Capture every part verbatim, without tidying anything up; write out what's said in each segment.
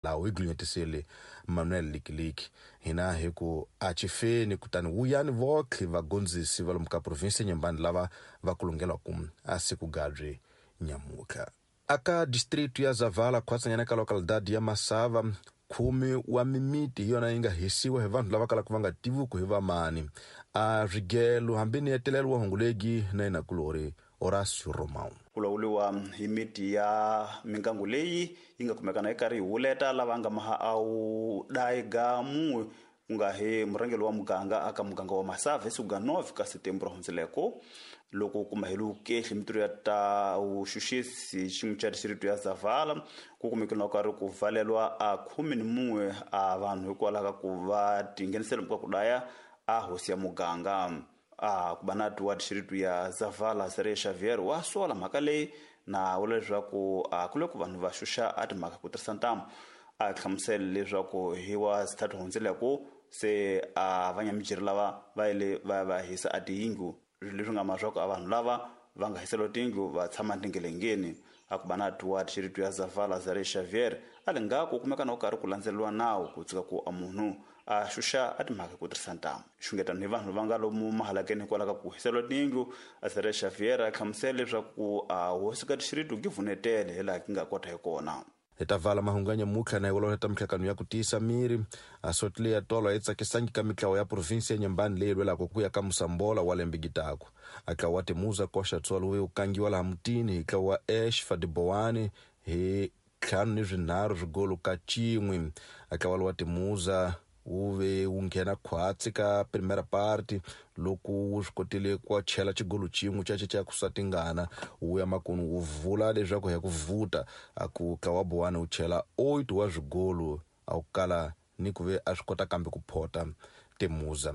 Laha hi gcinyetisile Manuel Likiliki hina hi ku a chifeni kutani wuyani votlhe vagondzisi va lomu ka provinsi Nyembani lava va kulungelwaku a siku gabyi nyamutlha aka district ya Zavala khwatsanyana ka localidade ya Masava khume wa mimiti hi yona yi nga hisiwa hi vanhu lava kalaka va nga tiviku hi vamani a swigelo hambi ni hetelelo wa hungulegi na yena kulori Horacio Romão ku lawuriwa hi miti ya mingangu leyi yi nga kumekana yi karhi yi huleta lava nga maha a wu dayiga munwe ku nga hi murhangeri wa muganga aka muganga wa Masava hi siku ga nove ka Setembro hundzileko loko kuma hi lukehli mitirho ya ta vuxuxisi xin'we xa distrito ya Zavala ku kumekile na karhi ku valelwa a khume ni munwe a vanhu hikwalaho ka ku va tinghenisela ka ku daya a hosi ya muganga a ku va na wa distrito ya Zavala Sere Xavier wa sola mhaka leyi na vula leswaku a ku le ku vanhu va xuxa a timhaka ku tirhisa ntamu a hlamusela leswaku hi wa sithathu hundzileko se a vanyamijeri lava va yile va va hisa a tiyindlu leswi nga ma swa ku a vanhu lava va nga hiseriwa tiyindlu va tshama tingelengeni a ku va na wa distrito ya Zavala Zare Xavier a le nga ku kumeka na ku karhi ku landzeleriwa nawu ku tshika ku a munhu a xuxa a timhaka ku tirhisa ntamu xungetano hi vanhu va nga lomu mahalakeni hikwalaho ka ku hiseriwa tiyindlu a Zare Xavier a hlamusela leswaku a hosi ka distrito ki vunetele hi laha ki nga kota hi kona hi ta vala mahungu ya nyamutlha na hi ta mihlakano ya ku tiyisa miri a sotile ya tolo yi tsakisangi ka mitlawa ya provinsi ya Nyembani leyi lwelaka ku ya ka Musambola wa lembe gitaku a tlawa wa Timuza koxa tsolo wu kangiwa laha mutini hi tlawa wa Ash Fadibowani hi ntlhanu ni swinharhu swigolo ka cin'we a tlawa wa Timuza wu ve wu nghena khwatsi ka primera parte loko wu swi kotile ku chela xigolo xin'we xa xa ku satingana wu ya makunu wu vula leswaku hi ku vuta a ku tlawa Bowani wu chela oito wa swigolo a wu kala ni ku ve a swi kota kambe ku phota Timuza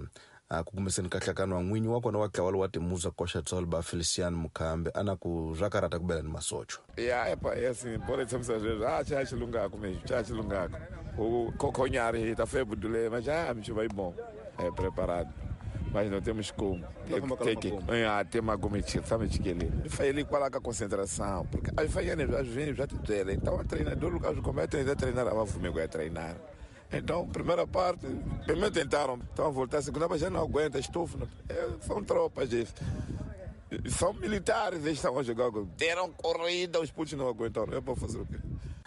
a ku kumiseni ka nhlakano wa n'winyi wa kona wa tlawa wa Timuza koxa tsolo ba Feliciano Mukhambe ana ku swa karata ku bela ni masocho ya epa yes bora tshamisa sweswo a cha xilungako mesmo cha xilungako o coconhar tá feio budule mas já me vai bom é preparado mas não temos como tem que ah tem uma gometi sabe que ele ele qual a concentração porque aí vai às vezes já te dele então o treinador o começa a treinar a fumigo a treinar. Então, primeira parte, primeiro tentaram, então voltar, a segunda, mas já não aguenta, estufo. São tropas, gente. São militares, eles estavam jogando. Deram corrida, os putos não aguentaram. Eu vou fazer o quê?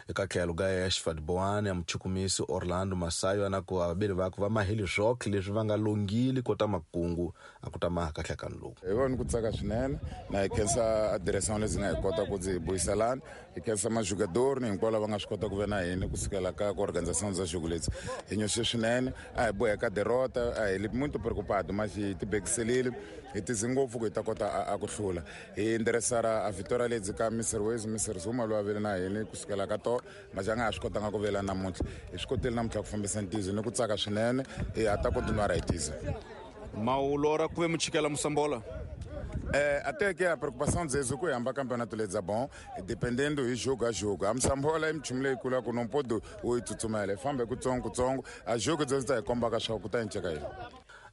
Eka tlhelo ka Ashford Boane muchukumisi Orlando Masayo ana ku vaviri va ku va maheli swokhe leswi va nga longili kota makungu a ku ta maha ka nhlakano lowu hi vona ku tsaka swinene na hi khensa a direção lezi nga hi kota ku ndzi buyiselana hi khensa majugador ni hinkwavo lava nga swi kota ku ve na hina kusukela ka ku organização za jogo leti hi nyoxe swinene a hi boheka derrota a hi li muito preocupado mas hi tibekiselile hi tize ngopfu ku hi ta kota a ku hlula hi endereçar a vitória leti ka Mister Wezi Mister Zuma loyi a vele na hina kusukela ka to mas a nga ha swi kotanga ku vela namuntlha hi swi kotile namuntlha ku fambisa ntizo ni ku tsaka swinene hi ha ta continuar hi tiza mawulora ku ve muchikela Musambola. É, até que a preocupação deles é que o campeonato lhes é bom, dependendo do jogo a jogo. A Msambola é um leikula ku não pode o itsutsumela, fambe kutsongo kutsongo, a jogo deles tá komba ka swa ku ta nceka yini.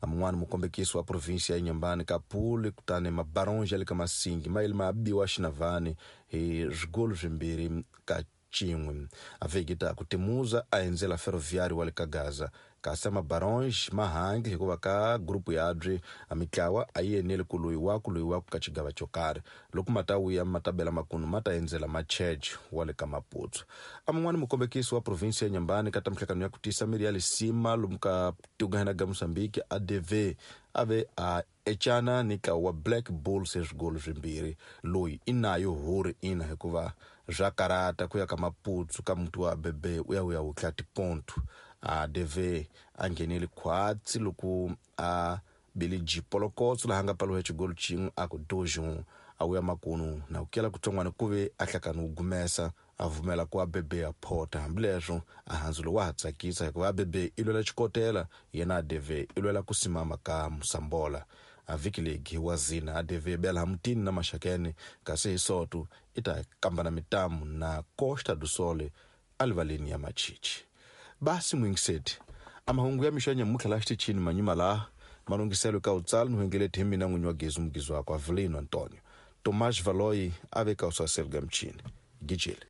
Mun'wana mukombekisi wa provinsi ya Inhambane Kapule kutani mabaronge ya le ka Masingi ma yile ma biwa xinavani hi swigolo swimbirhi ka cin'we a vhiki ku Timuza a endzela Ferroviário wa le ka Gaza kasi mabaronge ma hangi hikuva ka grupu yabye a mitlawa a yi eneli ku loyi wa ku loyi wa ku ka xigava xo karhi loko ma ta vuya ma ta bela makunu ma ta endzela Machege wa le ka Maputo a mun'wana mukombekisi wa provinsi ya Inhambane ka ta mihlakano ya ku tiyisa miri ya Lisima lomu ka tigana ga Mozambique A D V a ve a ecana ni ntlawa wa Black Bulls hi swigolo swimbirhi loyi i nayo huri ina hikuva swa karata ku ya ka Maputo ka muti wa Bebe u ya u ya wutla tiponto a D V a nghenele khwatsi loko a bele jipolokotso laha nga paliwa xigolo xin'we a ku dojo a wuya makunu na ku kela kutsongwana ku ve a hlakani wu gumesa a vumela ku a Bebe a phota hambileswo a handzulo wa ha tsakisa hikuva a Bebe i lwela xikotela yena a D V i lwela ku simama ka Musambola a vhiki legi wa zina a D V bela mutini na Maxakene kasi hi soto i ta kambana mitamu na Costa do Sol alivaleni ya Machichi basi mwingiseti a mahungu ya mixo ya nyamutlha laha xitichini manyima laha malunghiselo ka utsala ni huengeleti hi mina n'winyi wa Gezu Mugizwako Avelino Antonio Tomás Valoyi a ve ka usaseli ga mchini gijele.